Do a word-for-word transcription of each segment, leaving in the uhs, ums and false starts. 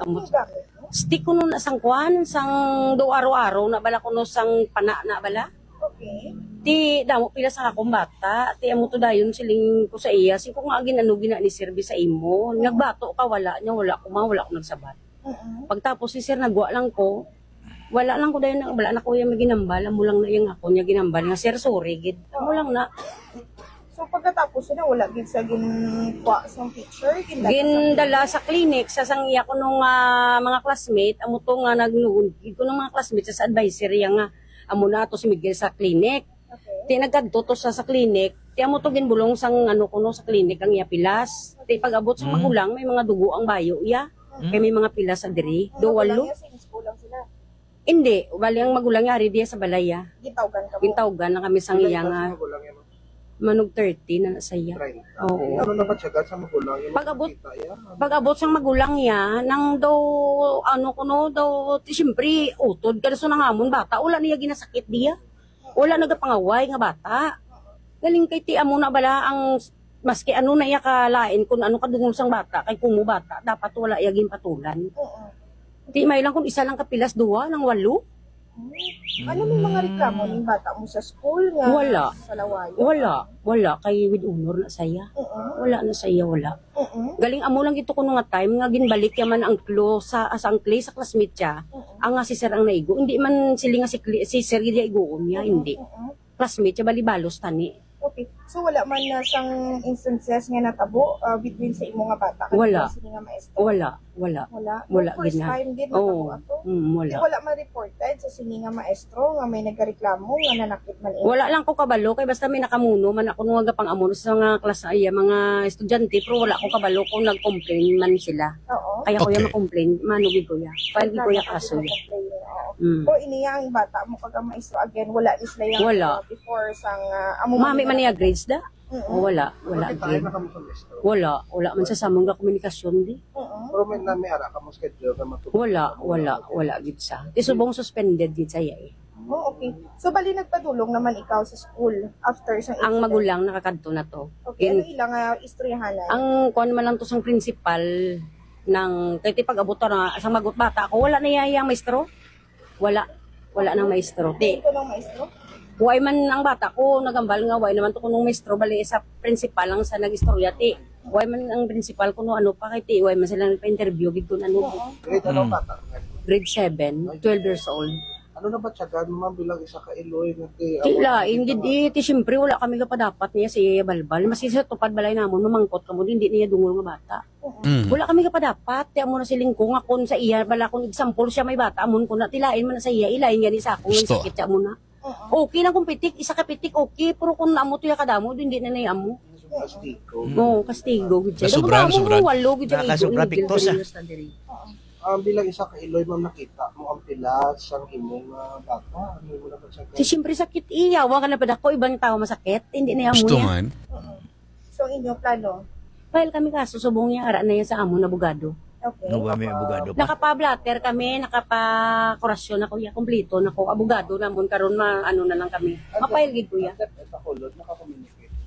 Ano gamit mo? Stick kuno na sang kwan, sang do araw-araw na bala kuno sang pana na bala. Okay. Ti damo pila sa akong bata, ti amo to dayon siling ko sa iya, sing ko nga gin-ano gina ni serbi sa imo. Nagbato ka, wala niya, wala ko ma, wala ko nagsabat. Mm-mm. Pagtapos si sir nagwa lang ko, wala lang ko dayon, wala na ko iya maginambal, amo lang na iya nga ako niya ginambal nga, "Sir, sorry gid." Amo lang na. So, pagkatapos na, wala gid sa ginkuha sa picture, gindala sa Gindala sa clinic, sa sang iya kuno nga mga classmate, amo to nga nagnuon gid kuno mga classmate sa, sa advisory nga amo na to si Miguel sa clinic. Okay. Ti nagkadto to sa, sa clinic, ti amo to ginbulong sang ano kuno sa clinic ang iya pilas. Ti pag-abot sa Mm. magulang, may mga dugo ang bayo iya. Mm. Kay may mga pilas sa diri. Ang Do magulang walo. niya, same school lang sila? Hindi, bali ang magulang niya ari diya sa balay, ah. Gintawgan ka mo? Gintawgan na kami sang Ilang iya edad nga sa magulang niya, ma'am? Manog thirty na sa iya. Treinta. Oo. Ano na ba siya sa magulang niya? Pag-abot, Makita, ya? Pag-abot sang magulang niya, nang daw, ano kuno, daw, ti, siyempre, utod ka na sa nangamon bata, wala niya ginasakit diya. Wala nagapangaway nga bata. Galing kay ti amo na bala ang, maski ano na iya kalain, kung ano kadungol sang bata, kay kumo bata, dapat wala iya ginpatulan. Oo. Ti may lang kung isa lang kapilas, duha, nang walo. Hmm. Ano, may mga reklamo ning bata mo sa school nga Wala. sa lawayo? Wala. Wala. Kay with honor na saya. Oo. Wala na saya, wala. Oo. Galing amo lang ito kuno nga time nga ginbalik yaman ang Clo sa, sa ang Clay sa classmate siya. Oo. Ang nga si Sir ang naigo. Hindi man sila nga si, Cli- si Sir gid iya iguon niya, Oo, hindi. oo. Classmate siya, bali balos tani. Okay. So, wala man na sang instances nga natabo, ah, between sa imo nga bata kag Wala. sini nga maestro? Wala, wala. Wala? Wala, First gid na. time gid Oo. natabo ato? Mm, wala. Di wala man reported sa sini nga maestro nga may nagareklamo nga nanakit man imo? Wala lang ko kabalo, kay basta may nakamuno man ako nung nga pang-amo sa mga klase, ay, mga estudyante, pero wala ko kabalo kung nag-complain man sila. Oo. Kaya ko Okay. yung ma-complain, mano gid ko ya. File gid ko ya Nagkakaroon kaso ka ya. complain, oo. Mm. Pero ini ang bata mo kag ang maestro again, wala ni sila yung, Wala. uh, before sang, uh, amo Mami man man niya yung grades da? Mm-mm. Oh, wala, wala Bakit tayo gid. na kamo sa maestro? Wala, wala man sa samong nga komunikasyon di. Mm-mm. Pero may nami ara ka mo schedule na matulog Wala, sa mga wala, kapatid? wala gid sa. Ti subong suspended gid sa iya eh. Oh, okay. So, bali nagpadulong naman ikaw sa school after sa Ang incident? magulang nakakadto na to. Okay, In- ano ilang, ah, istoryahanan? Ang kuwan man lang to sang principal ng, kay ti pag-abot na, sa magot bata ako, wala na iya, iya maestro. Wala. Wala nang maestro. Ti, Ito ng maestro? Why man ang bata ko, nagambal nga, why naman to kunong maestro, bali sa principal lang sa nag-istorya, ti. Why man ang principal kuno ano pa, kay ti, why man sila nagpa-interview, gid kun ano. Oo. Grade ano Mm. bata? Grade seven, twelve years old. Ano na ba tiyagan mo, ma'am, bilang isa ka Iloy nga ti Ti, amo lain ang gid, eh, ti, siyempre, wala kami kapadapat niya sa iya balbal. Maski sa tupad balay namon, mamangkot kamo, hindi niya dungol nga bata. Mm. Wala kami kapadapat, ti, amo na siling ko nga kun sa iya, bala kun example siya may bata, amon ko na, ti, lain man na sa iya, ilain gani sa akong Gusto. sakit siya amo na. Oo. Okay lang kung pitik, isa ka pitik, okay, pero kung amo to ya kadamo, hindi na na amo. Kastigo. Mm. Oo, kastigo, gid siya. Nasobra, Dapat amo nasobra. Walo, gid siya, Nakasubra, igo, tiktos, ah. Gid siya diri. Oo. Ah, bilang isa ka Iloy, ma'am, nakita mo ang pilas sang imo nga bata? Ano mo naman sa Ti, siyempre, sakit iya. Wa ka na pa dako, ibang tao masakit. Hindi na amo Gusto niya. man. Oo. So, inyo plano? File kami kaso, subong niya, ara na yan sa amon, abogado. Okay. No, ba may abogado pa? Nakapa-blotter kami, nakapa-kurasyon ako, ya, kompleto na ko. Abogado namon, karon ma-, ano na lang kami. Ano? Ma-file gid ko, ya. Ang dep-, sa kulod, nakakomunicate mo?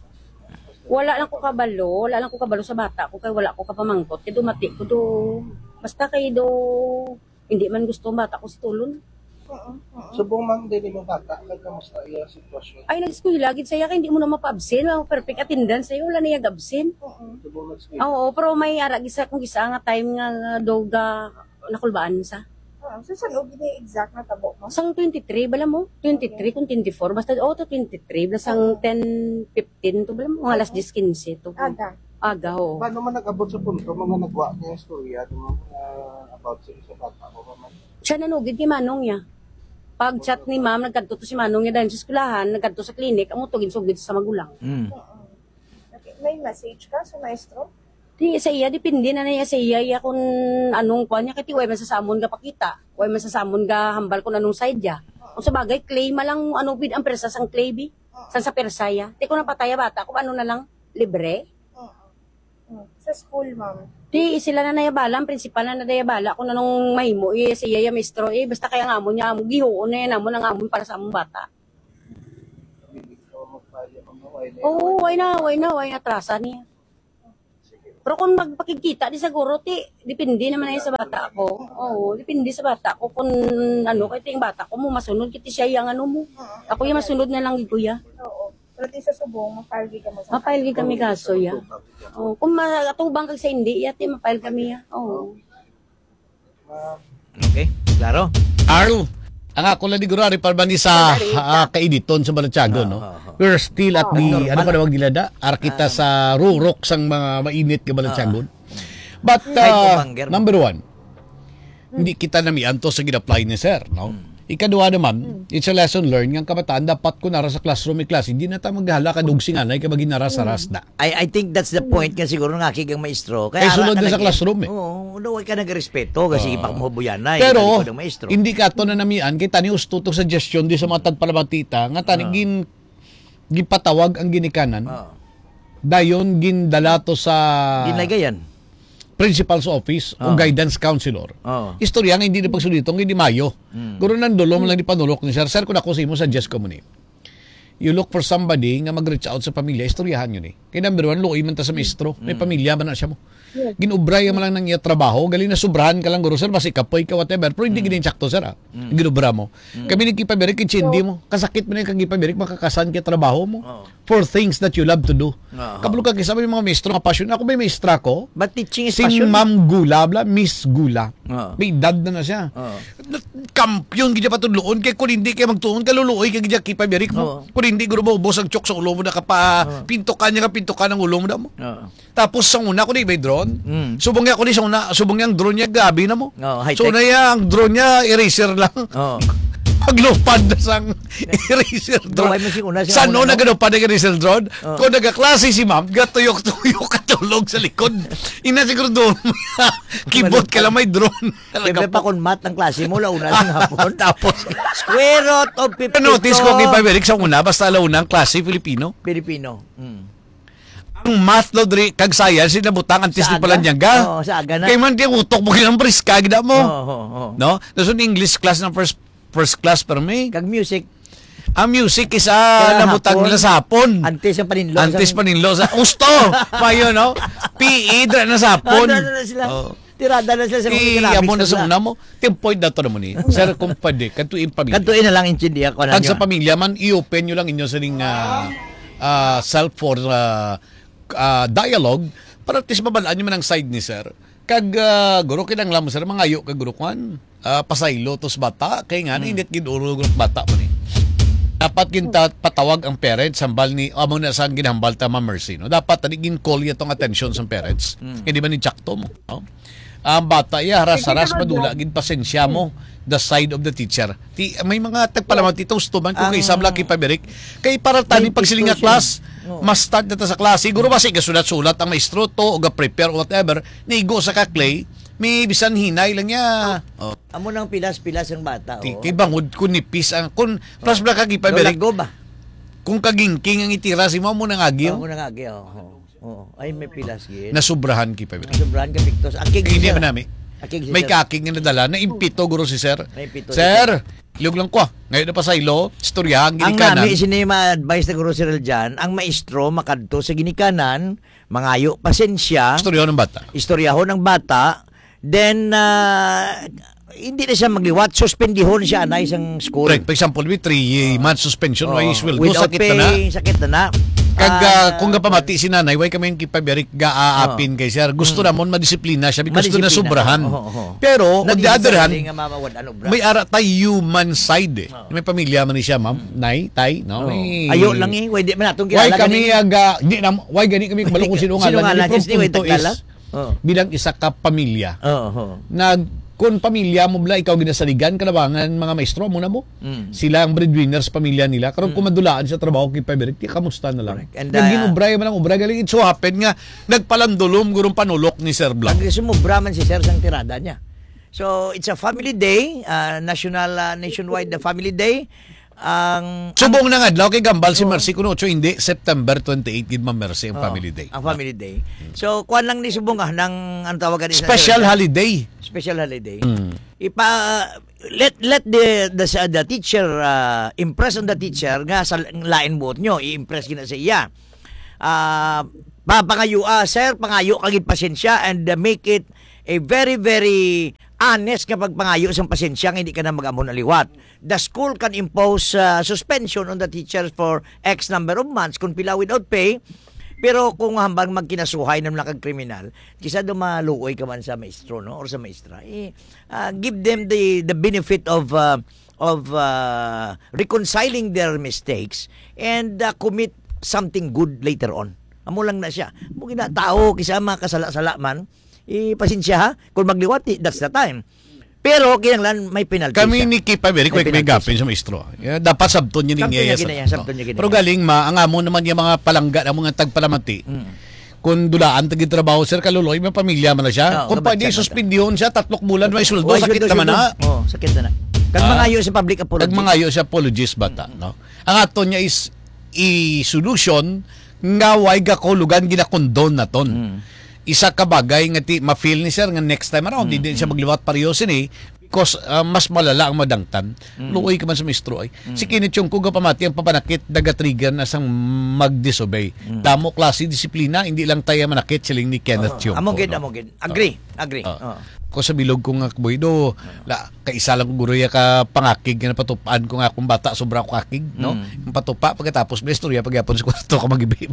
Wala lang ko kabalo, wala lang ko kabalo sa bata ko, kay wala ko kapamangkot. Kay dumati ko do, basta kay do, hindi man gusto ang bata ko si Tulon. Oo, oo. Subong, ma'am, din imong bata, kay kamusta iya sitwasyon? Ay, nag-eskwela gid siya, kay hindi mo na mapa-absent. Ang perfect attendance sa'yo, wala na yung absent. Oo. Subong nag-eskwela? Oo, pero may ara gisa kung gisa nga time nga, nga daw ga nakulbaan sa. Oo. So, saan og ini exact na tabo mo? Sang twenty-three, bala mo? Twenty-three Okay. kung twenty-four. Basta, oh, to twenty-three. Basta sang Oo. ten fifteen to, bala mo? Mga alas Oo. diyes quince to. Aga. Aga, oo. Paano man nag-abot sa punto, mga nagwa niya istorya, no, mga about sa, sa bata mo, ma'am? Siya nanugid kay Manong niya. Pag chat ni ma'am, nagkadto to si Manong niya dahil sa eskwelahan, nagkadto sa clinic, amo to ginsugid sa magulang. Mm. Oo. Okay. May message ka sa maestro? Di, sa iya, depende na niya sa iya, iya kung anong kuwan niya, kay ti, way man sa samon nga pakita, way man sa samon nga hambal kung anong side niya. Kung sa bagay, clay man lang, ano, bid, ang persa sang clay, bi? San sa persa, ya? Ti, kung napatay, bata, kung ano na lang, libre. Oo. Mm. Sa school, ma'am? Ti, sila na nayabala, ang principal na nayabala kung anong mahimo, eh, sa iya, ya, maestro, eh, basta kaya nga mo niya, amo, gihuon na yan, amo, nang amon para sa among bata. Oo, why na, why na, why na, trasa niya. Sige. Pero kung magpakigkita, di siguro, ti, depende naman na sa bata ko. Oo, depende sa bata ko kung ano, kay ting bata ko mo, masunod, kiti siya yung ano mo. Ako yung masunod na lang, kuya. Oo. Pero ti sa subong, ma-file gid kamo sa Ma-file gid kami kaso, ya. Oh, kung ma-, atubang kag sa hindi, ya, ti, ma-file kami, ya. Oo. Okay? Klaro? Arl, ang ako lang di guro, ari pa ba ni sa ah, kainiton sa Balatyagon, no? We're still at the, ano pa tawag nila da? Ara kita sa rurok sang mga mainit nga Balatyagon. But, uh, number one, hindi kita namianto sa ginaplay ni sir, no? Ikaduha naman, it's a lesson learned nga ang kabataan dapat ko nara sa classroom, may klase, hindi na ta maghala ka dugsinganay ka maginara sa rasda. I, I think that's the point nga siguro nga kay ang maestro. Kay ara sulod na sa classroom, eh. Oo, no, way ka nagrespeto kasi uh, ipakmubuyanay. Pero hindi ka to na namian kay tani usto to suggestion di sa mga tagpalamatita nga tani uh, gin gipatawag ang ginikanan. Uh, dayon gindala to sa Ginlagayan. Principal's office uh, o guidance counselor. Uh, istorya nga hindi na pagsulitong hindi mayo. Mm. Guro nang dulom lang di panulok ni sir. Sir, kung ako sa imo, suggest ko mo ni. You look for somebody nga mag-reach out sa pamilya, istoryahan yun eh. Kaya number one, luoy man ta sa maestro. May pamilya man na siya mo. Ginubray man lang ng iya trabaho, gali na sobrahan ka lang guro, sir, basi kapoy ka, whatever, pero hindi gid insakto, sir, ah. Ginubra mo. Kami nagkipabirik, kitsindi mo. Kasakit mo na yung kagipabirik, makakasan ka trabaho mo for things that you love to do. Kabalo ka, kisa may mga maestro nga passion. Ako may maestra ko. But teaching is si passion. Ma'am Gula, bla, Miss Gula. May edad na na siya. Kampiyon gid patudloon kay kung hindi kay magtuon ka luluoy kay gid kipabirik mo. Kung hindi guro mo ubos ang chok sa ulo mo na kapa pintukan niya ka pintukan ang ulo mo na mo. Tapos sa una ko di may drone. Subong niya ko di sa una, subong niya ang drone niya gabi na mo. So na iya ang drone niya eraser lang. Paglupad na sang eraser drone. San una nagalupad ang eraser drone? Kung nagaklase si ma'am, gatuyok-tuyok katulog sa likod. Ina siguro doon. Kibot ka lang may drone. Siyempre, pa kung math ang klase mo, launa lang hapon. Tapos, square root of fifty-two. Notice ko kay Paberic sa una, basta launa ang klase, Filipino. Filipino. Mm. Ang math, Lodri, kag science, nabutang antes ni Palanyangga. Oo, sa aga na. Kay man, kay utok mo, kinang priska, gida mo. Oo, oo, oo. No? Tapos yung English class ng first first class, pero may... Kag music. Ang music is ah, nabutang nila sa hapon. Antes ang paninlo. Antes paninlo. Sa, usto! Payo, no? P E, dra na sa hapon. Ano na sila? Tirada na sila sa mga economics amo na sa una mo. Yung point na to naman eh. Sir, kung pwede, kantuin pamilya. Kantuin na lang intindihan ko na. Kag sa pamilya man, i-open nyo lang inyo sa ning ah, ah, self for ah, ah, dialogue para at least mabalaan nyo man ang side ni sir. Kag ah, guro, kinanglan mo sir, mangayo kag guro kwan. Ah, pasaylo tos bata kay nga init gid ulo guro bata man eh. Dapat ginta patawag ang parents hambal ni amo na sang ginhambal ta Ma'am Mercy, no? Dapat tani gin-call niya tong attention sang parents. Kay di ba ni Jack to mo, no? Ang bata iya haras-haras madula gid pasensya mo the side of the teacher. Ti may mga tagpalamat ito gusto man kung kay sabla kay pabirik kay para tani pagsiling nga class mas start na ta sa class. Siguro ba si gasulat-sulat ang maestro to o ga-prepare o whatever, nigo sa ka clay, may bisan hinay lang niya. Oh. Amo nang pilas-pilas ang bata, Ti- oh. Kay bangod kun nipis ang kun plus bla kagi pa Lola Berek. Go ba? Kung kagingking ang itira si mo mo nang agyo. Amo nang agi, oh. Oh. Oh. Ay may pilas gid. Nasubrahan ki pa Berek. Nasubrahan ka piktos. Akig Hindi siya. Man nami. Akig siya. May kakig nga nadala na impito guro si sir. May impito Sir, liog lang ko. Ngayon na pa sa ilo, istoryahan Ang gini kanan. Nami sini ma-advise na guro si Reljan, ang maestro makadto sa ginikanan, mangayo pasensya. Istoryahan ng bata. Istoryahon ang bata. Then, ah, hindi na siya magliwat. Suspendihon siya, anay, sang school. Correct. For example, with three months suspension, why sweldo? Without sakit na na. Pay, sakit na na. Kag, ah, kung gapamati si nanay, why kami yung kipabirik ga-aapin kay sir? Gusto namon madisiplina siya because gusto na Madisiplina. Sobrahan. Oo, oo. Pero, on the other hand, Naging sarili nga mama, wad-, ano, bra. May ara tay human side eh. May pamilya man ni siya, ma'am, nay, tay, no? Oo. May Ayo lang eh, why di man natong Why kilala kami gani? Aga, di na, why gani kami kabalo kung sino nga Sino lang nga ni lang, yes, di, why punto is, taglala? Oo. Bilang isa ka pamilya. Oo, oo. Nag, kung pamilya mo bla, ikaw ginasaligan, kalabangan, mga maestro mo na mo. Mm. Sila ang breadwinners, pamilya nila. Karon kung madulaan sa trabaho, kay Pabrik, di, kamusta na lang? Correct. And, Naging uh, ubray man ang ubray. Galing, it so happen nga, nagpalandulom gurong panulok ni Sir Blanc. Ang sumubra man si Sir sang tirada niya. So, it's a family day, uh, national, uh, nationwide the family day. Ang Subong nang adlaw kay gambal si Oh. Mercy kuno ocho, hindi, September twenty-eight gid, Ma'am Mercy, ang Oh, family day. Ang family day. So, kuan lang ni subong ah, nang ang tawagan ni Special Sir. Holiday. Special holiday. Mm. Ipa let let the the, the teacher uh, impress on the teacher nga sa lain buot nyo, i-impress gina sa iya. Ah, Pa-, pangayo, ah, sir, pangayo ka gid pasensya and, uh, make it a very, very honest nga pagpangayo sang pasensya nga hindi ka na mag-amo na liwat. The school can impose, uh, suspension on the teacher for X number of months kung pila without pay. Pero kung hambang magkinasuhay na lang kag kriminal, kisa do maluoy ka man sa maestro, no, or sa maestra, eh, uh, give them the the benefit of, uh, of, uh, reconciling their mistakes and, uh, commit something good later on. Amo lang na siya. Mo ginatao, kisa makasala-sala man, eh, pasensya ha. Kung magliwat, eh, that's the time. Pero kinahanglan may penalty Kami siya. ni Kipa Beric, May may penalty gapin siya. sa maestro. Yeah, dapat sabton niya Sabton niya niya sa gina-, sabton niya gina-, Pero galing ma, ang amo naman niya mga palangga na mga tagpalamati. Mm. Kung dulaan tagi trabaho, sir, kaluloy, may pamilya man na siya. Oo, Kung pwede, kabatsa na ta. suspendihon siya, tatlok bulan, may sweldo, Why sakit should naman you na. Oh, sakit na na. Kag Ah, mangayo sa public apology. Kag mangayo sa apologies bata, Mm. no? Ang ato niya is i-solution nga way gakulugan ginakondon naton. Mm. Isa ka bagay nga ti ma-feel ni sir nga next time around, Mm, hindi siya mm. magliwat pareho sini because, ah, mas malala ang madangtan. Mm. Luoy ka man sa maestro ay. Mm. Si Kenneth Chungko gapamati ang papanakit nagatrigger na sang mag-disobey. Mm. Damo klase disiplina, hindi lang tayo manakit siling ni Kenneth Oo. Chungko, Amo gid, no? amo gid. Agree, Oo. agree. Oo. Oo. Ko sa bilog ko nga, boy, do, Oo. la, kaisa lang ko guro ya ka pangakig nga napatupaan ko nga akong bata, sobra ko kakig, no? Mm. Ang patupa, pagkatapos may istorya, pagyapon sa kwarto ka magibi.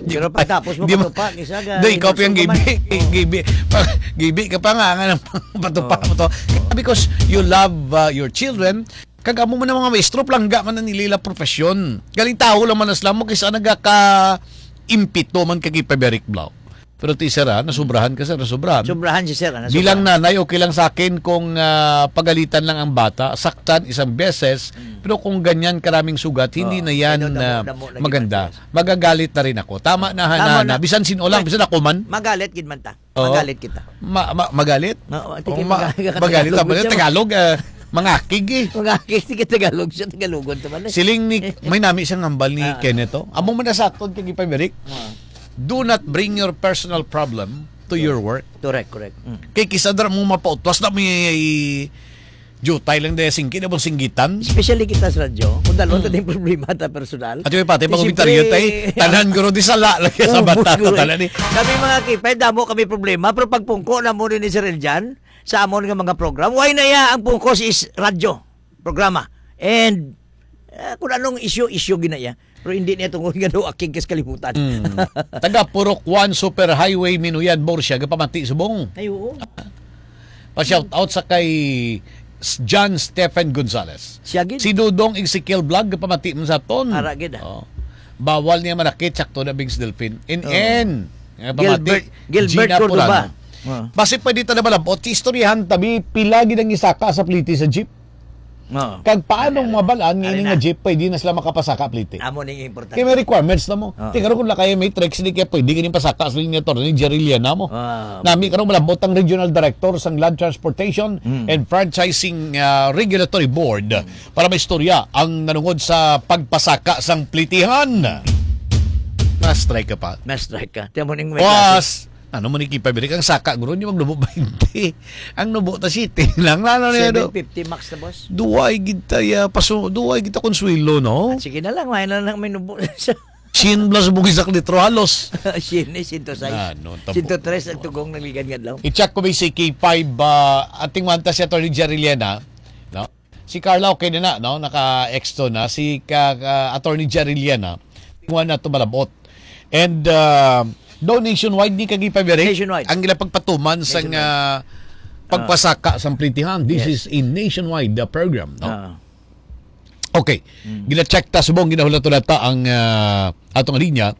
Pero pagtapos mo Di ba? patupa, kisa ga-, Do, ikaw pa yung insulto ka man. gibi, Oo. gibi. Pa-, gibi ka pa nga, nga nang patupa Oo. mo to. Oo. Because you love, uh, your children, kag amo man ang mga maestro, palangga man ang nila profesyon. Galing tao lang man na sila mo, kisa nagaka-impito man kag ipaberik blaw. Pero ti sir, ah, nasubrahan ka, sir, nasubrahan. Sobrahan si sir, ah, Bilang nasubrahan. nanay, okay lang sa akin kung, ah, pagalitan lang ang bata, saktan isang beses, Mm. pero kung ganyan karaming sugat, hindi Oo. na yan, Pero damo, ah, damo lagi maganda. man, yes. Magagalit na rin ako. Tama na, Tama na, na. na. Bisan sino lang, Mag-, bisan ako man. magalit gid man ta. Oo. Magalit kita. Ma-, ma-, magalit? Ma-, oh, tingin Oo, ma-, magalit ka magalit Tagalog, ako. Tagalog, ah, mangakig eh. Mangakig, sige, Tagalog siya, Tagalogon to man eh. Siling ni, may nami siyang hambal ni Ah. Kenneth, oh. Amo man na sa aton, kag ipabirik. Ah. Do not bring your personal problem to your work. Correct, correct. Mm. Kay kisa dira mo mapautwas na may jutay lang dahil singkit na bang singgitan. Especially kita sa radyo, kung dalon Mm. ta din problema ta personal. At yung pati, Di mga komentaryo, siyempre, tay, tanan guro di sala lagi sa Oh, bata, siguro eh. tanan eh. Kami mga kipay, damo kami problema, pero pagpungko na mo ni Sir Eljan, sa amon nga mga program, why na ya ang pungko is radyo, programa. And, eh, kung anong issue, issue gina ya. Pero hindi niya tungod nga daw akig kas kalibutan. Mm. Taga Purok one Superhighway, Minuyan, Borsia, gapamati subong. Ay, oo. Pa-shout out sa kay S-, John Stephen Gonzalez. Siya gid. Si Dudong Ezekiel Vlog, gapamati man sa ton. Ara gid, ah. Oh. Bawal niya manakit, sakto na Bings Delfin. In Oo. N. Nga pamati, Gilbert, Gilbert Gina Cordova. Purano. Oo. Basi pwede ta na malabot, istoryahan tabi, pila gid ang isaka sa pliti sa jeep. Oo. Kag paano Ay, ay, mabalaan nga ay, ini na. nga jeep pwede na sila makapasaka pliti? Amo ning importante. Kaya may requirements na mo. Oo. Tingnan ko lang kaya may tricks, hindi kaya pwede ganing pasaka sa linya to, ni Jerry Liana mo. Oo. Nami karon malabot ang regional director sang Land Transportation Mm. and Franchising, ah, Regulatory Board Mm. para maistorya ang nanungod sa pagpasaka sang plitihan. Na-strike ka pa. Na-strike ka. Tiyan mo ning may Was, klase. Ano man ni Kipa Birik? Ang saka, guro, hindi magnubo twenty. Ang nubo ta sitting lang. Ano niya do? Seven fifty max na, boss. Duway gid ta ya, paso, duway gid ta konsuelo, no? Ah, sige na lang, may na lang may nubo na siya. Sien plus mo isa ka litro halos. Sien eh, sento sais. Ah, no, tabo. Sento tres ang tugong ng ligan nga adlaw. I-check ko ba si K five, ah, ating wanta si Attorney Jerry Liana, no? Si Carla, okay na na, no? Naka-exto na. Si ka, ka, Attorney Jerry Liana, tingwa na to malabot. And, uh, do nationwide ni kagi pabirik Nationwide. ang gila pagpatuman sa Nationwide. nga Ah. pagpasaka sa plitihan. This Yes. is a nationwide, uh, program, no? Ah. Okay. Mm. Gina-check ta subong, ginahula-tulata ang, ah, atong linya.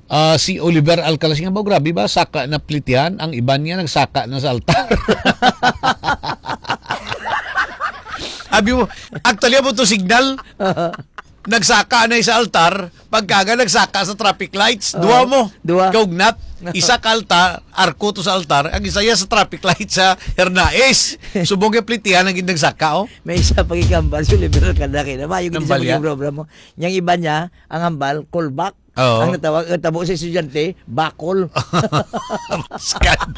Ah, si Oliver Alcalaz nga ba, grabe ba, saka na plitihan, ang iban niya nagsaka na sa altar. Abi mo, actually, amo to signal. Nagsaka na sa altar, pagkaga nagsaka sa traffic lights, Oo. dua mo. Dua. Kaugnat, isa ka altar, arko to sa altar, ang isa ya sa traffic light sa Hernaez. Subong yung plitihan ang nagsaka, oh. May isa pa gikambal, si Oliver Alcalaz, kaya na, mayo gid sa Nambal ya? pagprogram mo. Yang iba niya, ang hambal, callback. Oo. Ang natawag, ang tabo sa estudyante, bakol. Scan.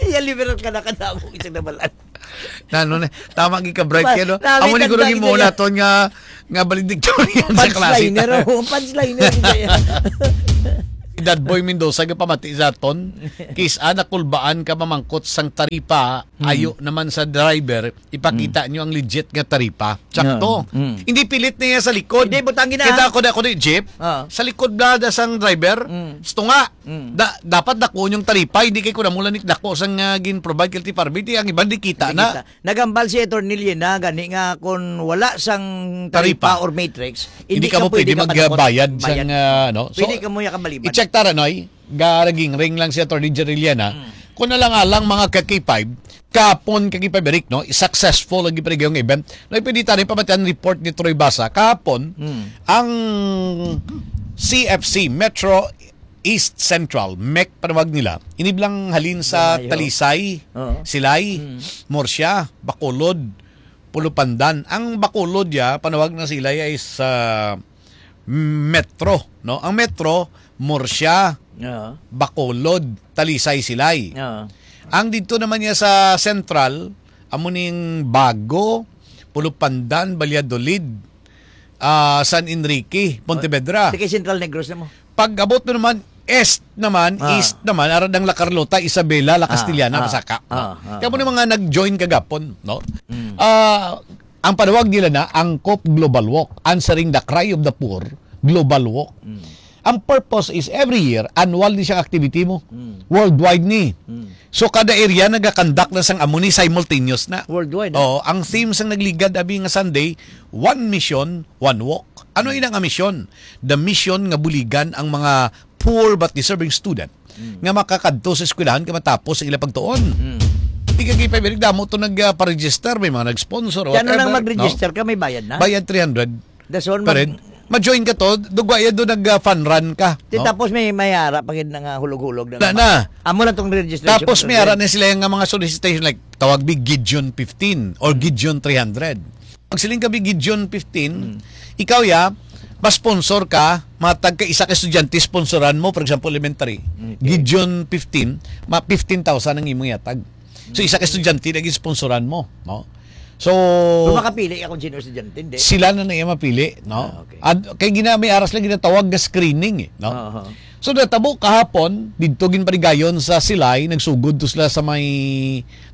Iya, liberal ka na, kadamo isang nabalaan. Na, ano na, tama, gid ka bright Ba, kayo, no? Amo ni guro gid mo naton nga, nga valedictorian sa klase. Punchline, no? Punchline, no? Dad Boy Mendoza, gapamati sa aton. Kis-a nakulbaan ka mamangkot sang taripa, Hmm. ayo naman sa driver, ipakita Hmm. nyo ang legit nga taripa. Sakto. Yeah. Hmm. Hindi pilit niya sa likod. Hindi, butangi na. Kita ko na, ko ni jeep. Ah. Sa likod na, da sang driver. Hmm. Gusto nga. Hmm. Da, dapat dako yung taripa, hindi kay kuna mula ni dako sang, ah, gin-provide kay T P R B, di ang iban di kita Hindi na. kita. Nagambal si Attorney Lina gani nga kung wala sang Taripa. taripa or matrix, Hindi hindi ka ka mo pwede pwede magbayad magbayad. sang, ah, ano. So, Pwede ka mo yakamaliban. i-check tara, Noy. Garaging ring lang si Attorney Jerry Lina. Mm. Kung alang-alang mga ka-K five, kapon ka-K five, Eric, no? Successful lagi pa rin yung event. Noy, pwede tayo pamatian report ni Troy Basa. Kahapon, Mm. ang C F C, Metro East Central, mec panawag nila, iniblang halin sa Malayo. Talisay, Oo. Silay, Mm. Murcia, Bacolod, Pulupandan. Ang Bacolod ya, panawag na Silay ay sa Metro, no? Ang Metro, Murcia, Oo. Bacolod, Talisay, Silay. Oo. Ang dito naman niya sa Central, amo ning Bago, Pulupandan, Valladolid, ah, San Enrique, Pontevedra. Di kay Central Negros na mo. Pag abot mo naman, East naman, Ah. East naman, ara ng La Carlota, Isabela, La Ah, Castellana, ah, Pasaka. ah, ah, Kaya mo ah. na mga nag-join kagapon, no? Mm. Ah, ang panawag nila na, Angkop Global Walk, answering the cry of the poor, Global Walk. Mm. Ang purpose is every year, annual ni siyang activity mo. Mm. Worldwide ni. Mm. So, kada area nagakandak na sang amo ni simultaneous na. Worldwide, ah. Oo, ang theme sang nagligad abi nga Sunday, One Mission, One Walk. Ano ina nga mission? The mission nga buligan ang mga poor but deserving student Mm. nga makakadto sa eskwelahan kay matapos sa ilang pagtuon. Mm. Di ka gipabilig damo to nag, ah, pa-register, may mga nag-sponsor, Kaya ano whatever, nang mag-register no? ka, may bayad na? Bayad three hundred. Dason, Pa mag- rin. Ma-join ka to, dugwa ya do nag, ah, fun run ka, Di no? tapos may, may ara pa gid na nga hulog-hulog na Na, naman. na. Amo lang tong registration Tapos may control. ara na sila yung nga mga solicitation like tawag bi Gideon fifteen or Gideon three hundred. Pag siling ka bi Gideon fifteen, Hmm. ikaw ya, ma-sponsor ka, matag ka isa ka estudyante, sponsoran mo, for example, elementary. Okay. Gideon fifteen, ma fifteen thousand ang imong yatag. So, isa ka estudyante na ginsponsoran mo, no? So, Kung makapili ako, Gino, estudyante, hindi. sila na na iya mapili, no? Ah, okay. At kay gina-, may aras lang ginatawag nga screening, eh, no? Aha. So, natabo kahapon, didto ginparigayon sa Silay, nagsugod to sila sa may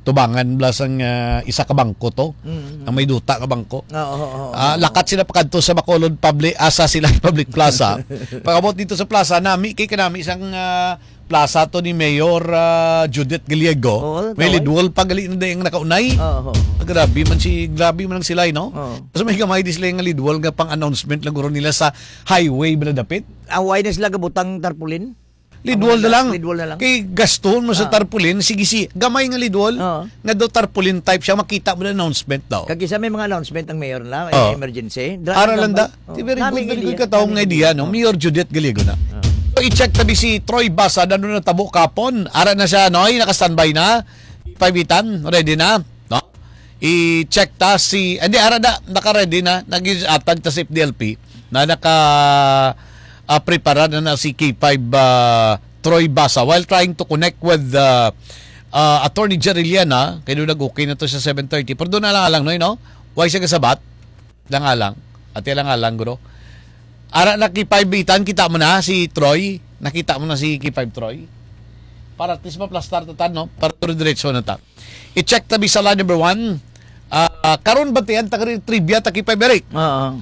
tubangan bala sang, ah, isa ka bangko to, Mm, mm. ang may duta ka bangko. Oo, oo, oo, Ah, oo. lakat sila pakadto sa Bacolod Public, ah, sa Silay Public Plaza. Pag-abot dito sa plaza, nami kay kanami isang, ah, plaza to ni Mayor, ah, Judith Gallego. Oo, May tawag. Lidwall pa gali na dayang nakaunay. Oo. Ah, grabe man si, grabe man ang silay, no? Oo. So may gamay di sila nga lidwall nga pang-announcement lang guro nila sa highway ba na dapit? Ah, why na sila gabutang tarpaulin? Lidwall Ang na lang. lidwall na lang. Kay gaston mo sa Ah. tarpaulin, sige si, gamay nga lidwall, Oo. nga do tarpaulin type siya, makita mo na announcement daw. Kag isa may mga announcement ang mayor na, eh, Oh. emergency. Dra-, Ara lang da. Oh. Di very Nami good, very gid good iya. ka taong Nami nga gid idea, iya. no? Oh. Mayor Judith Gallego na. Ah. So, i-check tabi si Troy Basa, ano na tabo kapon. Ara na siya, Noy, naka-standby na. Paibitan, ready na, no? I-check ta si, hindi, ara na, naka-ready na, nag-atag ta si F D L P, na naka, ah, prepara na na si K five, ah, Troy Basa while trying to connect with, ah, ah, Attorney Jerry Liana, kay doon nag-okay na to sa seven thirty. Pero doon na lang, alang, Noy, no? Why siya kasabat? Lang-alang. Ati lang-alang, guro. Ara na K five Bitan, kita mo na si Troy. Nakita mo na si K five Troy. Para at least maplastar ta tan, no? Para dire-diretso na ta. I-check tabi sa line number one. Ah, karon, batian ta kari trivia ta K five Eric. Oo.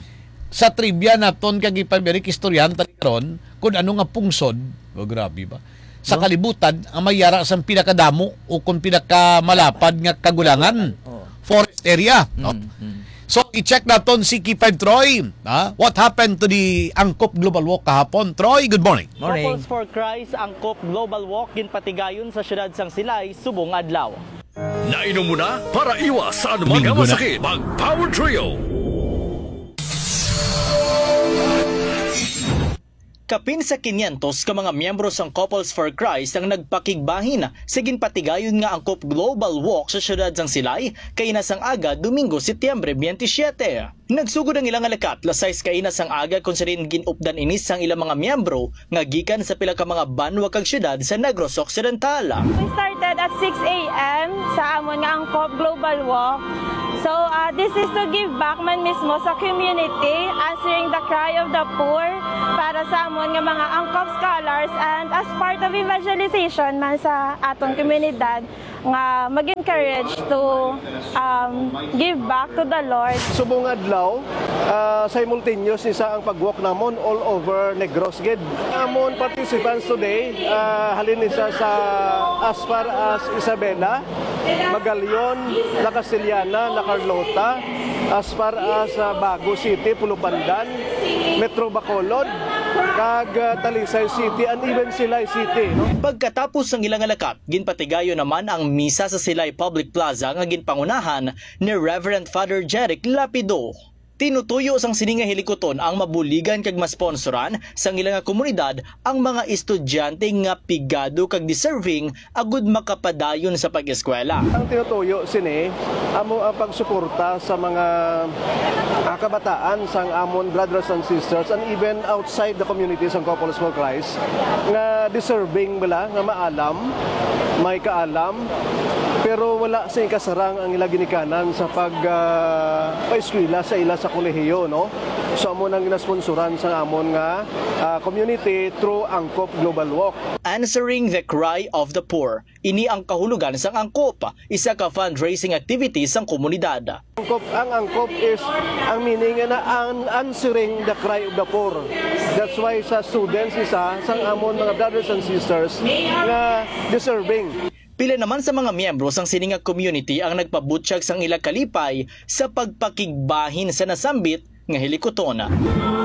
Sa trivia naton kay K five Eric, istoryahan ta karon kung ano nga pungsod. Oh, grabe ba? Sa No? kalibutan, ang may yara sang pinakadamo o kung pinakamalapad nga kagulangan. Oo. Forest area, no? Mm, mm. So, i-check naton si K five Troy, ha? What happened to the Angkop Global Walk kahapon? Troy, good morning. Morning. Couples for Christ Angkop Global Walk ginpatigayon sa siyudad sang Silay subong adlaw. Nainom mo na para iwas sa anumang Domingo na. masakit. Mag Power Trio. Kapin sa kinyentos ka mga miyembro sang Couples for Christ ang nagpakigbahin sa ginpatigayon nga Angkop Global Walk sa siyudad sang Silay kaina sang aga, Domingo, Setyembre twenty-seven. Nagsugod ang ilang nga lakat las sais kaina sang aga, kung sa diin gin-updan ini sang ilang mga miyembro nga gikan sa pila ka mga banwa kag siyudad sa Negros Occidental. We started at six a m sa amon nga Angkop Global Walk. So, ah, This is to give back man mismo sa community, answering the cry of the poor para sa amon nga mga Angkop scholars and as part of evangelization man sa aton komunidad nga mag-encourage to, um, give back to the Lord. Subong adlaw, ah, simultaneous ni sa ang pag-walk namon all over Negros gid. Amon participants today, ah, halin ni sa, sa as far as Isabela, Magallon, La Castellana, La Carlota, as far as, ah, Bago City, Pulupandan, Metro Bacolod, kag, ah, Talisay City, and even Silay City, no? Pagkatapos sang ila nga lakat, ginpatigayon naman ang misa sa Silay Public Plaza nga ginpangunahan ni Reverend Father Jeric Lapido. Tinutuyo sang sini nga hilikuton ang mabuligan kag masponsoran sang ila nga komunidad ang mga estudyante nga pigado kag deserving agud makapadayon sa pag-eskwela. Ang tinutuyo sini amo ang pagsuporta sa mga, ah, kabataan sang amon brothers and sisters and even outside the community sang Couples for Christ nga deserving bala nga maalam, may kaalam, pero wala sa ikasarang ang ila ginikanan sa pag, ah, paeskwela sa ila sa kolehiyo, no? So, amo nang ginasponsoran sa amon nga, ah, community through Angkop Global Walk. Answering the Cry of the Poor. Ini ang kahulogan sang Angkop, isa ka fundraising activity sang komunidad. Angkop, ang Angkop is, ang meaning na an-, answering the cry of the poor. That's why sa students isa, sang amon mga brothers and sisters nga deserving. Pila naman sa mga miyembro sang sini nga community ang nagpabutyag sang ila kalipay sa pagpakigbahin sa nasambit nga hilikuton.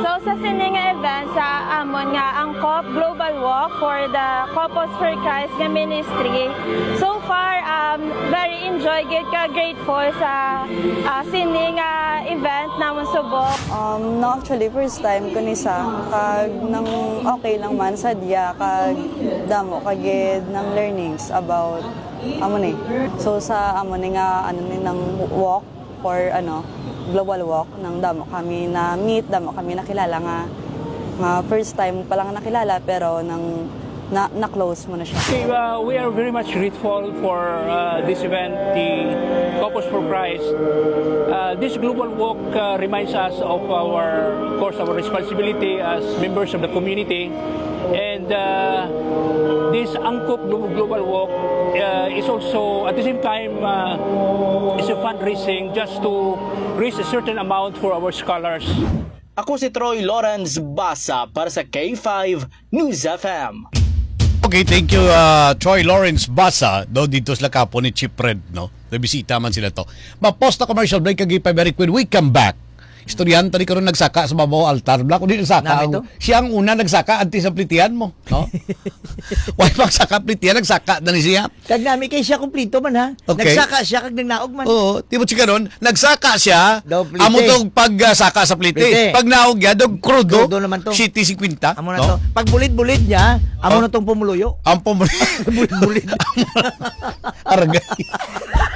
So, sa sini nga event sa amon nga Angkop Global Walk for the Couples for Christ nga ministry, so far, um, very enjoy gid ka, grateful sa, ah, sini nga event namon subong. Um, no, actually, first time ko ni sa, kag nang okay lang man sa diya, kag damo ka gid ng learnings about amo ni. So, sa amo ni nga, ano ni, nang walk, for, ano, global walk, nang damo kami na meet, damo kami nakilala nga, nga first time pa lang nakilala, pero nang na, na-close mo na siya. Okay, uh, we are very much grateful for, uh, this event, the Couples for Christ. Uh, this global walk, uh, reminds us of our, of course, our responsibility as members of the community. And, uh, this Angkop Glo-, Global Walk, uh, is also, at the same time, uh, is a fundraising just to raise a certain amount for our scholars. Ako si Troy Lawrence Basa para sa K five News F M. Okay, thank you, uh, Troy Lawrence Basa, do dito sila kapo ni Chief Red, no? Nabisita man sila to. Ma-pause ta commercial break, kag K five very quick. We come back. Istoryahan ta ni karon nagsaka sa babaw altar. Bla, kundi nagsaka Nami ang, to? Siya ang una nagsaka antes sa plitihan mo, no? Wala pang saka plitihan, nagsaka na ni siya. Kag nami kay siya kumplito man, ha? Okay. Nagsaka siya kag nagnaog man. Oo, tibot si karon, nagsaka siya, Daw plite. Amo tong pag, ah, saka sa plite. Plite. Pag naog niya, daw krudo, Krudo naman to. Siyete singkwenta, Amo na no? To. Pag bulid-bulid niya, amo Oh. Na tong pumuluyo. Ang pumuluyo. Bulid-bulid. Aragay.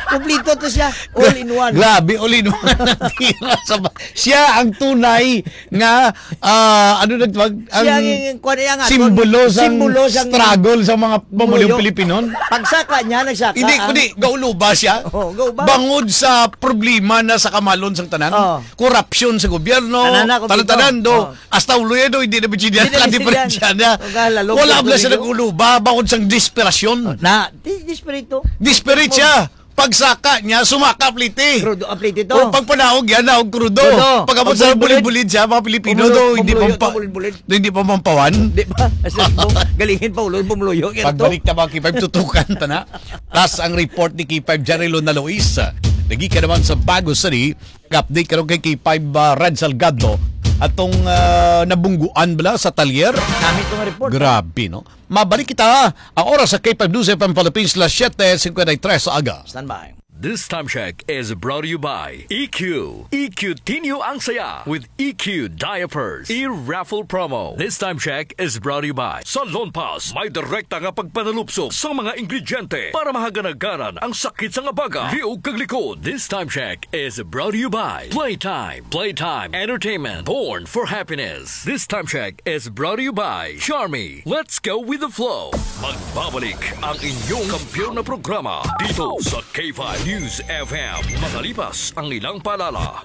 Kumplito to siya. All in one. Grabe, all in one ang tira sa ba-, siya ang tunay nga, ah, ano nagtawag? Ang Siya ang, ang kuwan niya nga, simbolo sang simbolo sang struggle sa mga pamuliyong Pilipino. Pagsaka niya, nagsaka Hindi, ang kundi, gauluba siya. Oo, gauba. Bangod sa problema na sa kamalon sang tanan, Oo. Korupsyon sa gobyerno, Tanan na, kompleto. Tanan-tanan, do. Oo. Hasta ulo yan, do, hindi na bitsin niya, Hindi na bitsin kadipirensya niya. Wala, lalong Wala bla siya kompleto. Nag-uluba, bangod sang desperasyon. Na, di, desperito. Desperate siya. Pagsaka niya, sumaka pliti. Krudo, ah, pliti to. O, pagpanaog yan, naog krudo. Krudo. Pagkabot sa Pagbulit-bulit. Bulid-bulid siya, mga Pilipino, Pumulo-, do, hindi pumuloy, pa pa-, pumulit-bulit. Hindi pa mampawan. Di ba? Asa mo? Galingin pa ulo, pumuloyo, kaya to. Pagbalik ta, mga K five, tutukan ta na. Tas ang report ni K five Jerry Luna Luis. Nagika naman sa Bago City. Update karon kay K five, ah, Red Salgado. Atong, ah, nabungguan bala sa talyer. Nami itong report, Grabe, no? Mabalik kita, ang oras sa K five News F M Philippines, las siete cincuenta y tres sa aga. Standby. This time check is brought to you by E Q. E Q Tinyo ang saya with E Q Diapers. E-raffle promo. This time check is brought to you by Salon Pass. May direkta nga pagpanalupsok sa mga ingrediente para mahaganaganan ang sakit sa nga baga, liog kag likod. This time check is brought to you by Playtime. Playtime Entertainment. Born for happiness. This time check is brought to you by Charmy. Let's go with the flow. Magbabalik ang inyong kampiyon na programa dito sa K five News F M. Makalipas ang ilang paalala.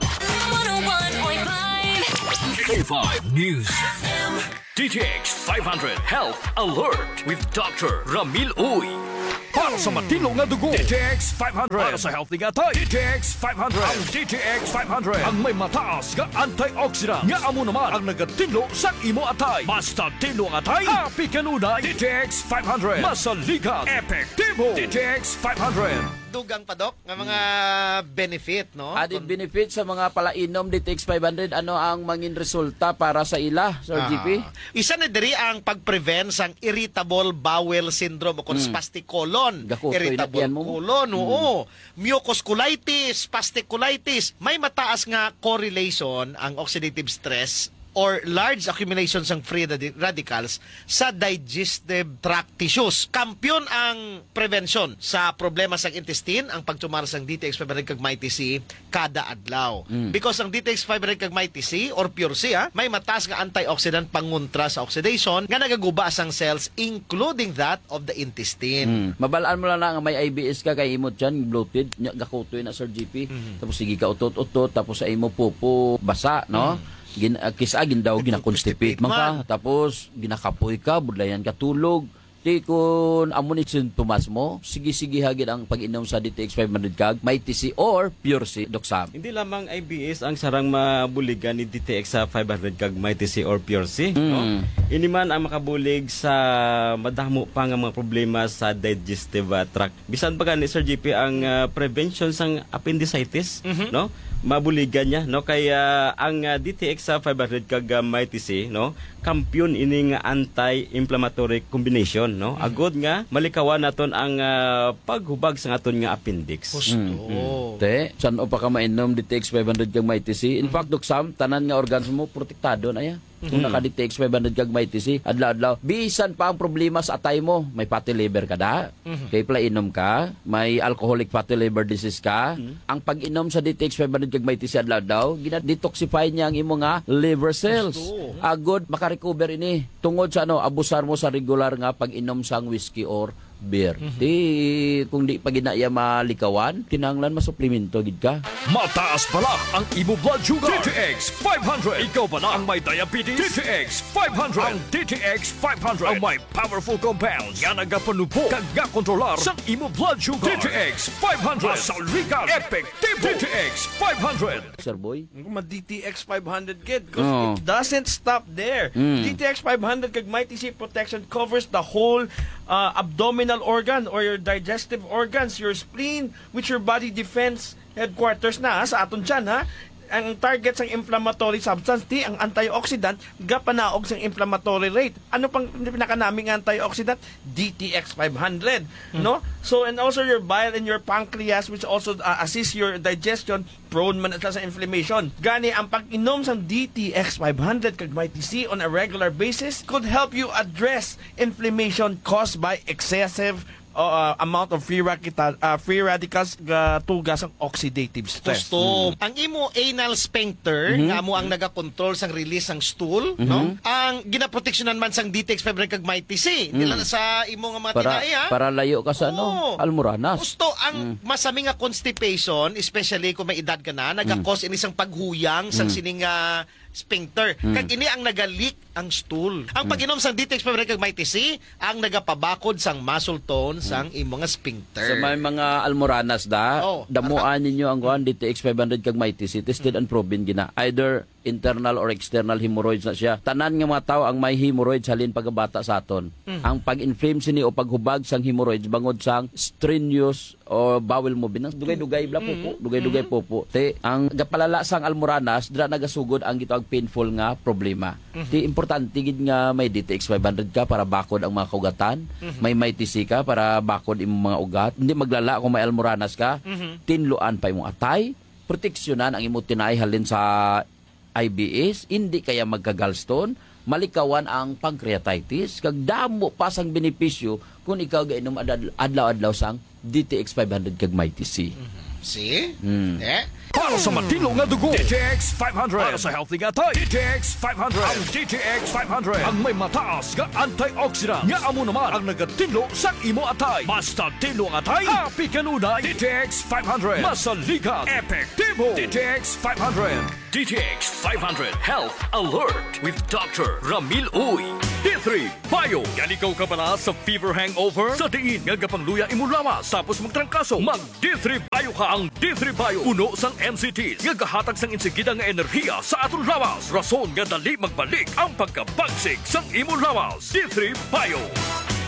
One oh one point five K five News F M. D T X five hundred Health Alert with Doctor Ramil Uy. Para sa matinlo nga dugo, D T X five hundred. Para sa healthy nga atay, D T X five hundred. Ang D T X five hundred ang may mataas nga antioxidant nga amo naman ang nagatinlo sa imo atay. Basta tinlo ang atay, happy kanunay. D T X five hundred. Masaligan, epektibo. D T X five hundred. Dugang pa, Doc, nga mga benefit, no? Added Kung benefit sa mga palainom D T X five hundred, ano ang mangin resulta para sa ila, Sir Ah. G P? Isa na diri ang pag-prevent sang irritable bowel syndrome o kung Mm. spastic colon. Gakutoy na Irritable tiyan mo. colon, Mm. oo. Mucus colitis, spastic colitis. May mataas nga correlation ang oxidative stress or large accumulation sang free radi-, radicals sa digestive tract tissues. Kampiyon ang prevention sa problema sa intestine, ang pagtumar sang D T X five hundred kag Mighty C kada adlaw. Mm. Because ang D T X five hundred kag Mighty C or Pure C, ha, may mataas nga antioxidant pangontra sa oxidation nga nagaguba sang cells, including that of the intestine. Mm. Mabalaan mo lang na nga may I B S ka kay imo tiyan bloated, nya gakutoy na, Sir G P. Mm. Tapos sige ka utot-utot, tapos sa imo pupo basa, no? Mm. Gin-, ah, kis-a gindaw, gina-constipate Constipate man ka, man. Tapos ginakapoy ka, budlayan ka tulog. Di kun amo ni sintomas mo, sige-sige ha gid ang pag-inom sa D T X five hundred kag Mighty C or Pure C, Doc Sam. Hindi lamang I B S ang sarang mabuligan ni D T X sa five hundred kag Mighty C or Pure C, no? Mm. Ini man ang makabulig sa madamo pa nga mga problema sa digestive, ah, tract. Bisan pa gani, Sir G P, ang, ah, prevention sang appendicitis, Mhm. no? Mabuligan niya, no? Kaya ang, ah, D T X sa five hundred kag, ah, Mighty C, no? Kampiyon ini nga anti-inflammatory combination, no? Mhm. Agod nga malikawan naton ang, ah, paghubag sa aton nga appendix. Gusto. Mm, mm. Te, san-o pa ka mainom D T X five hundred kag Mighty C? In Mhm. fact, Doc Sam, tanan nga organs mo protektado na ya. Kung Mhm. naka-D T X five hundred kag Mighty C, adlaw-adlaw. Bisan pa ang problema sa atay mo, may fatty liver ka da, Mhm. kay palainom ka, may alcoholic fatty liver disease ka, Mhm. ang pag-inom sa D T X five hundred kag Mighty C adlaw-adlaw, gina-detoxify niya ang imo nga liver cells. Gusto. Agod makarecover ini tungod sa ano, abusar mo sa regular nga pag-inom sang whiskey or beer. Mhm. Di, kung di pa gina iya malikawan, kinahanglan masuplemento gid ka. Mataas bala ang imo blood sugar. D T X five hundred. Ikaw bala ang may diabetes. D T X five hundred. Ang D T X five hundred ang may powerful compounds nga nagapanubo kag nga kontrolar sa imo blood sugar. D T X five hundred. Masaligan. Epektibo. D T X five hundred. Sir Boy? Kung ma-D T X five hundred gid, 'cause Oo. it doesn't stop there. Mm. D T X five hundred kag Mighty C Protection covers the whole, uh, abdominal organ or your digestive organs, your spleen, which your body defense headquarters na, ha, sa aton tiyan, ha. Ang target sang inflammatory substance, ti ang antioxidant, gapanaog sang inflammatory rate. Ano pang pinakanami nga antioxidant? D T X five hundred, Hmm. no? So, and also your bile and your pancreas, which also, uh, assist your digestion, prone man sila sa inflammation. Gani, ang pag-inom sang D T X five hundred kag Mighty C on a regular basis could help you address inflammation caused by excessive, uh, amount of free radical, uh, free radicals nga tuga sang oxidative stress. Gusto. Mm. Ang imo anal sphincter, Mhm. nga amo ang nagakontrol sang release sang stool, Mhm. no? Ang ginaproteksyonan man sang D T X five hundred kag Mighty C, Mm. dila na sa imo nga mga Para, tinai, ha? para layo ka sa, ano, Oo. almoranas. Gusto ang Mm. masami nga constipation, especially kung may edad ka na, Mm. nagakos ini sang paghuyang sang Mm. sining, ah, sphincter. Mm. Kag ini ang nagalik ang stool. Ang Mm. pag-inom sang D T X five hundred kag Mighty C ang nagapabakod sang muscle tone sang Mm. imo nga sphincter. Sa may mga almoranas da, Oh, damuan ninyo ang kuan, D T X five hundred kag Mighty C, tested Mm. and proven gina. Either internal or external hemorrhoids na siya. Tanan nga mga tawo ang may hemorrhoids halin pagkabata sa aton. Mm. Ang pag-inflame sini o paghubag sang hemorrhoids bangod sang strenuous o bowel movement, ang dugay-dugay bla Mm. pupo, dugay-dugay Mm. pupo. Te, ang gapalala sang almoranas, dira nagasugod ang gitawag painful nga problema. Mhm. Te, importante gid nga may D T X five hundred ka para bakod ang mga kaugatan, Mhm. may Mighty C ka para bakod imong mga ugat. Hindi maglala kung may almoranas ka. Mhm. Tinluan pa imong atay, proteksyonan ang imo tinai halin sa I B S, hindi kaya magka-gallstone, malikawan ang pancreatitis, kag damo pa sang benepisyo Kung ikaw gainom ad-, adlaw-adlaw sang D T X five hundred kag Mighty C. Mhm. See? Hmm. Eh? Para sa matinlo nga dugo, D T X five hundred. Para sa healthy nga atay, D T X five hundred. Ang D T X five hundred ang may mataas nga antioxidant nga amo naman ang nagatinlo sang imo atay. Basta tinlo ang atay, happy kanunay. D T X five hundred. Masaligan, epektibo. D T X five hundred. D T X five hundred Health Alert with Doctor Ramil Uy. D three Bio. Yan ikaw kabala sa fever hangover? Sa diin nga gapangluya imo lawas tapos magtrangkaso, mag D three Bio ka. Ang D three Bio puno sang M C Ts nga gahatag sang insigida nga enerhiya sa aton lawas, rason nga dali magbalik ang pagkabagsik sang imo lawas. D three Bio.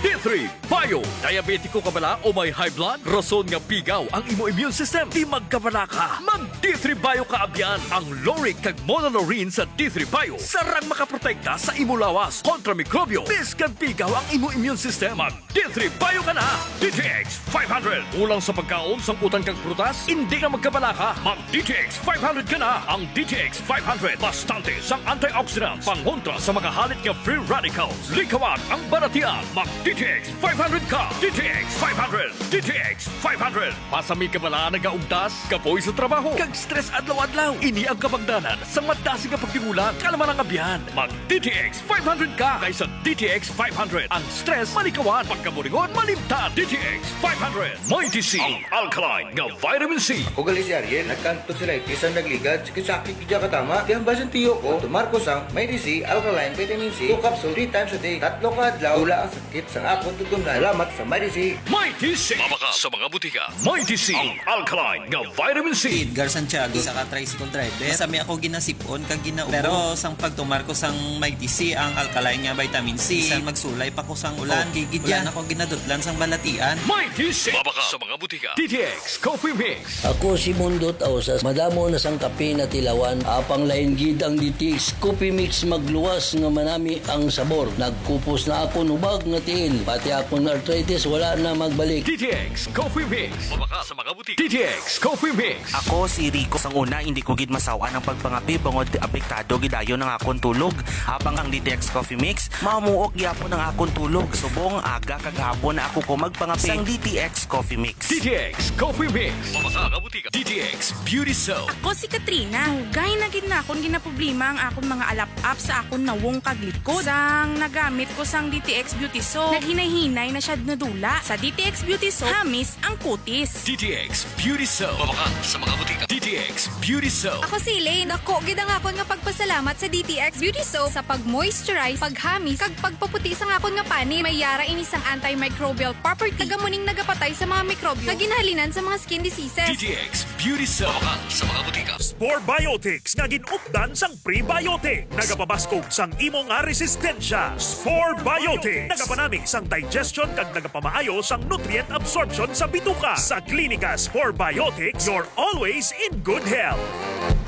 D three Bio. Diabetiko ka bala o may high blood? Rason nga pigaw ang imo immune system. Di magkabala ka. Mag D three Bio ka abyan. Ang lauric kag monolaurin sa D three Bio sarang makaprotekta sa imo lawas kontra mikrobyo. Bisan pigaw ang imo immune system, mag D three Bio ka na. D T X five hundred. Kulang sa pagkaon, sang utan kag prutas? Hindi ka magkabala ka. Mag D T X five hundred ka na. Ang D T X five hundred bastante sang antioxidants pangontra sa mga halit nga free radicals. Likawan ang balatian. Mag D T X five hundred ka. D T X five hundred. D T X five hundred. Pasami ka bala nagaugdas, kapoy sa trabaho, kag stress adlaw-adlaw? Ini ang kabangdanan sa madasig nga pagdingulan. Kalma lang, abyan. Mag D T X five hundred ka, kay sa D T X five hundred ang stress malikawan, pagkaburingon malimtan. D T X five hundred, Mighty C, ang alkaline nga vitamin C. Ako gali si Ariel, nagkanto sila, bisan nagligad, sakit-sakit gid katama. Kaya ang basin tiyo ko, tumar ko sang Mighty C alkaline vitamin C, two capsule, three times a day, tatlo ka adlaw, wala ang sakit sang akon tutunlan. Salamat sa Mighty C. Mighty C. Mabakal sa mga butika. Mighty C, ang alkaline nga vitamin C. Edgar Santiago, isa ka tricycle driver. Masami ako ginasipon kag ginaubos. Pero sang pagtumar ko sang Mighty C, ang alkaline nga vitamin C, bisan magsulay pa ko sang ulan, okay gid yan. Wala na ko ginadutlan sang balatian. Mighty C. Mabakal sa mga butika. D T X Coffee Mix. Ako si Mundot Ausas. Madamo na sang kape natilawan. Apang lain gid ang D T X Coffee Mix, magluwas nga manami ang sabor. Nagkupos na akon hubag nga tiil. Pati akon arthritis wala na magbalik. D T X Coffee Mix. Mabakal sa mga butika. D T X Coffee Mix. Ako si Rico. Sang una, hindi ko gid masaw-an ang pagpangape bangod apektado gid dayon ang akon tulog. Apang ang D T X Coffee Mix, mamuok gyapon ang akon tulog. Subong aga kag hapon na ako ko magpangape. Sang D T X Coffee Mix. D T X Coffee Mix. Mabakal sa mga butika. D T X Beauty Soap. Ako si Katrina. Dugay na gid na akon ginaproblema ang akon mga alap-ap sa akon nawong kag likod. Sang nagamit ko sang D T X Beauty Soap, naghinay-hinay na siya nadula. Sa D T X Beauty Soap, hamis ang kutis. D T X Beauty Soap. Mabakal sa mga butika. D T X Beauty Soap. Ako si Elaine. Dako gid ang akon nga pagpasalamat sa D T X Beauty Soap sa pag-moisturize, paghamis, kag pagpaputi sang akon nga panit. May yara ini sang antimicrobial property. Taga muning nagapatay sa mga mikrobyo nga ginhalinan sa mga skin diseases. D T X Beauty Soap. Mabakal sa mga butika. Spore Biotics nga gin-updan sang prebiotic. Nagapabaskog sang imo nga resistensya. Spore Biotics. Nagapanami sang digestion kag nagapamaayo sang nutrient absorption sa bituka. Sa Klinika Spore Biotics, you're always in good health.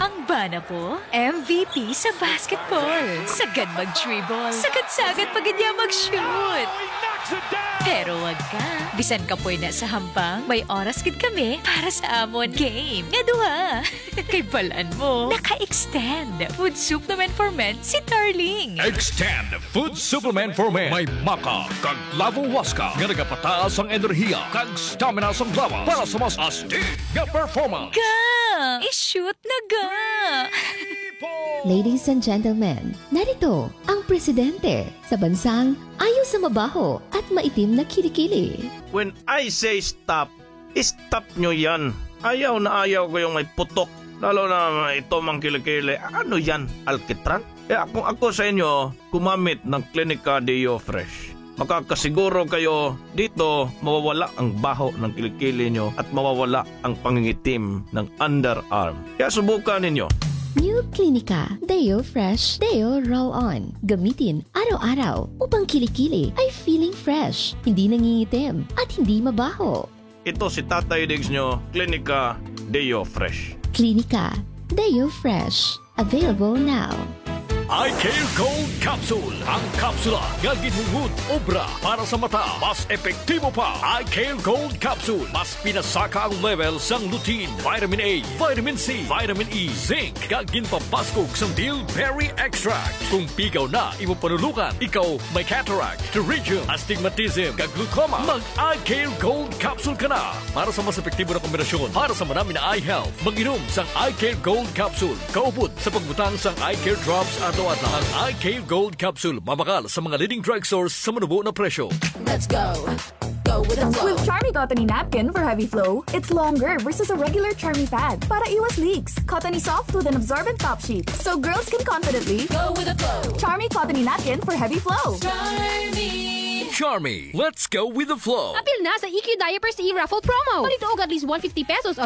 Ang bana ko, M V P sa basketball. Sagad mag-dribble. Sagad-sagad pa gid niya mag-shoot. Pero wag ka. Bisan kapoy na sa hampang, may oras gid kami para sa amon game nga duha. Kay balan mo, naka-extend Food Supplement for Men si Darling. Extend Food Supplement for Men. May maca kag clavo huasca nga nagapataas ang enerhiya kag stamina sang lawas para sa mas astig nga performance. Ga! I-shoot na ga! Ladies and gentlemen, narito ang presidente sa bansang ayaw sa mabaho at maitim na kilikili. When I say stop, stop nyo yan. Ayaw na ayaw ko yung may putok. Lalo na may itom ang kilikili. Ano yan? Alkitran? Eh, kung ako sa inyo, gumamit ng Klinika Deo Fresh. Makakasiguro kayo dito, mawawala ang baho ng kilikili nyo at mawawala ang pangingitim ng underarm. Kaya subukan ninyo. New Klinika Deo Fresh Deo Roll On. Gamitin araw-araw upang kilikili ay feeling fresh, hindi nangingitim, at hindi mabaho. Ito si Tatay Diggs nyo, Klinika Deo Fresh. Klinika Deo Fresh. Available now. Eye Care Gold Capsule, ang kapsula nga ginhungod obra para sa mata. Mas epektibo pa. Eye Care Gold Capsule, mas pinasaka ang level sang lutein, vitamin A, vitamin C, vitamin E, zinc, kag ginpabaskog sang bilberry extract. Kung pigaw na imo panulukan, ikaw may cataract, pterygium, astigmatism, kag glaucoma, mag Eye Care Gold Capsule ka na. Para sa mas epektibo na kombinasyon para sa manami na eye health, mag-inom sang Eye Care Gold Capsule kaupod sa pagbutang sang Eye Care Drops adlaw-adlaw. Ang Eye Care Gold Capsule mabakal sa mga leading drugstores sa manubo na presyo. Let's go. Go with the flow. With Charmy Cottony Napkin for Heavy Flow, it's longer versus a regular Charmy pad para iwas leaks. Cottony soft with an absorbent top sheet, so girls can confidently Go with the flow. Charmy Cottony Napkin for Heavy Flow. Charmy. Charmy, let's go with the flow. Apil na sa E Q Diapers e-raffle promo. Palito og at least one fifty pesos of